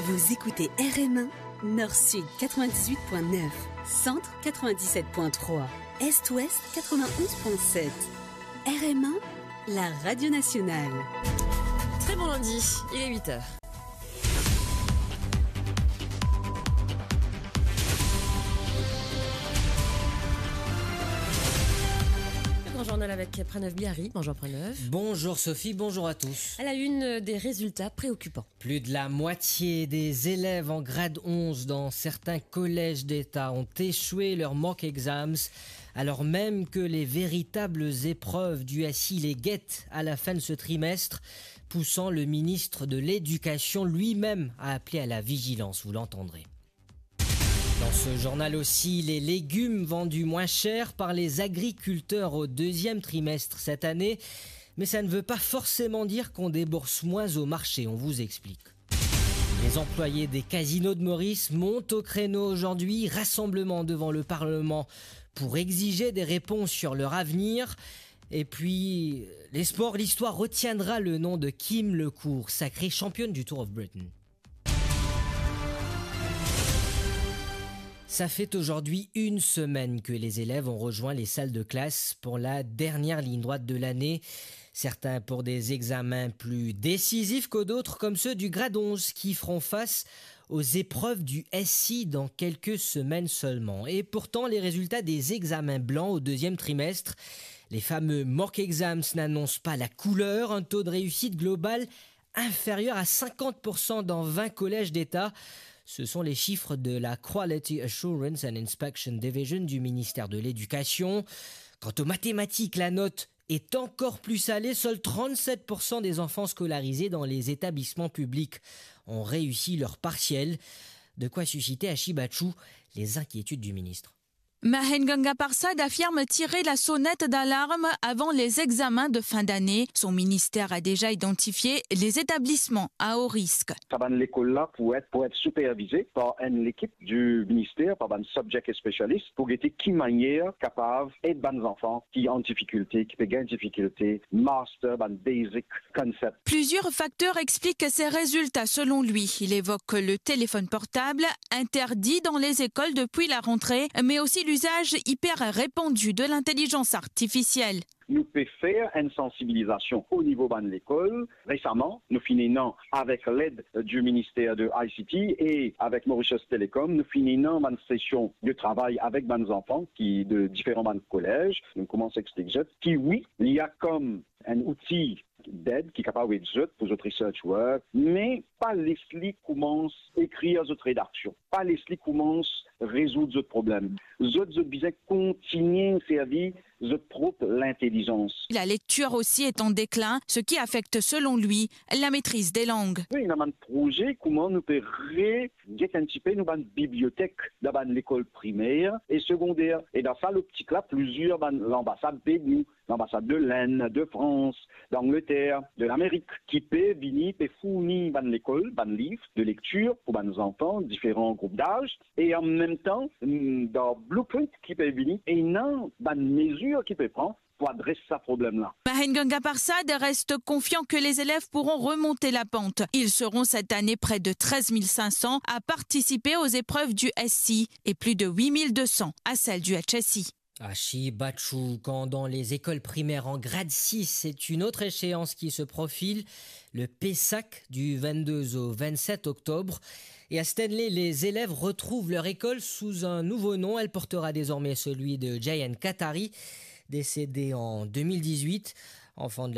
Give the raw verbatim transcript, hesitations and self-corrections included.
Vous écoutez R M un, Nord-Sud quatre-vingt-dix-huit point neuf, Centre quatre-vingt-dix-sept point trois, Est-Ouest quatre-vingt-onze point sept. R M un, la radio nationale. Très bon lundi, il est huit heures. Le grand journal avec Pranav Bihari. Bonjour Pranav. Bonjour Sophie, bonjour à tous. À la une, des résultats préoccupants. Plus de la moitié des élèves en grade onze dans certains collèges d'État ont échoué leur mock exams, alors même que les véritables épreuves du S I les guettent à la fin de ce trimestre, poussant le ministre de l'Éducation lui-même à appeler à la vigilance, vous l'entendrez. Dans ce journal aussi, les légumes vendus moins cher par les agriculteurs au deuxième trimestre cette année, mais ça ne veut pas forcément dire qu'on débourse moins au marché, on vous explique. Les employés des casinos de Maurice montent au créneau aujourd'hui, rassemblement devant le Parlement pour exiger des réponses sur leur avenir. Et puis, les sports, l'histoire retiendra le nom de Kim Lecourt, sacrée championne du Tour of Britain. Ça fait aujourd'hui une semaine que les élèves ont rejoint les salles de classe pour la dernière ligne droite de l'année. Certains pour des examens plus décisifs que d'autres, comme ceux du grade onze qui feront face aux épreuves du S I dans quelques semaines seulement. Et pourtant, les résultats des examens blancs au deuxième trimestre, les fameux mock exams, n'annoncent pas la couleur. Un taux de réussite global inférieur à cinquante pour cent dans vingt collèges d'État. Ce sont les chiffres de la Quality Assurance and Inspection Division du ministère de l'Éducation. Quant aux mathématiques, la note est encore plus salée. Seuls trente-sept pour cent des enfants scolarisés dans les établissements publics ont réussi leur partiel. De quoi susciter à Shibachou les inquiétudes du ministre. Mahen Ganga Parsad affirme tirer la sonnette d'alarme avant les examens de fin d'année. Son ministère a déjà identifié les établissements à haut risque. Sa bann lekol la pou et, pou et sipervize par enn lekip di minister, par bann subject specialist, pou gete ki manier kapav ed bann zanfan ki an difikilte, ki pe gagn difikilte, master bann basic concept. Plusieurs facteurs expliquent ces résultats selon lui. Il évoque le téléphone portable, interdit dans les écoles depuis la rentrée, mais aussi l'usage hyper répandu de l'intelligence artificielle. Nou pe fer enn sansibilizasion o nivo bann lekol. Resaman, nou finn ena, avek led di minister de I C T e avek Mauritius Telecom, nou finn ena bann sesion de travay avek bann zanfan ki de diferan bann kolez. Nou koumans explik zot ki wi, li a kom enn outi ded ki kapav ed zot pou zot research work, me pa les li koumans ekrir zot redaksion, pa les li koumans rezoud zot problem. Zot, zot bizin kontinie servi zot prop lintelizans. La lecture aussi est en déclin, ce qui affecte selon lui la maîtrise des langues. Wi, ena bann proze kouma nou pe re get enn tipe nou bann bibliotek dan bann lekol primer e segonder. E dan sa loptik la, plizier bann lanbasad pe ed nou, lanbasad de Lenn, de Frans, d'Angleter, de Lamerik, ki pe vini, pe fourni bann lekol bann liv de lektir pou bann zanfan diferan group daz, e an mem tan, mm, dan blueprint ki pe vini, ena bann mezir ki pe pran pou adres sa problem la. Mahen Ganga Parsad reste confiant que les élèves pourront remonter la pente. Ils seront cette année près de treize mille cinq cents à participer aux épreuves du S I et plus de huit mille deux cents à celles du H S I. Ashi Bachou, quand dans les écoles primaires en grade six, c'est une autre échéance qui se profile, le PESAC du vingt-deux au vingt-sept octobre. Et à Stanley, les élèves retrouvent leur école sous un nouveau nom. Elle portera désormais celui de Jayan Katari, décédé en deux mille dix-huit. Enfant de la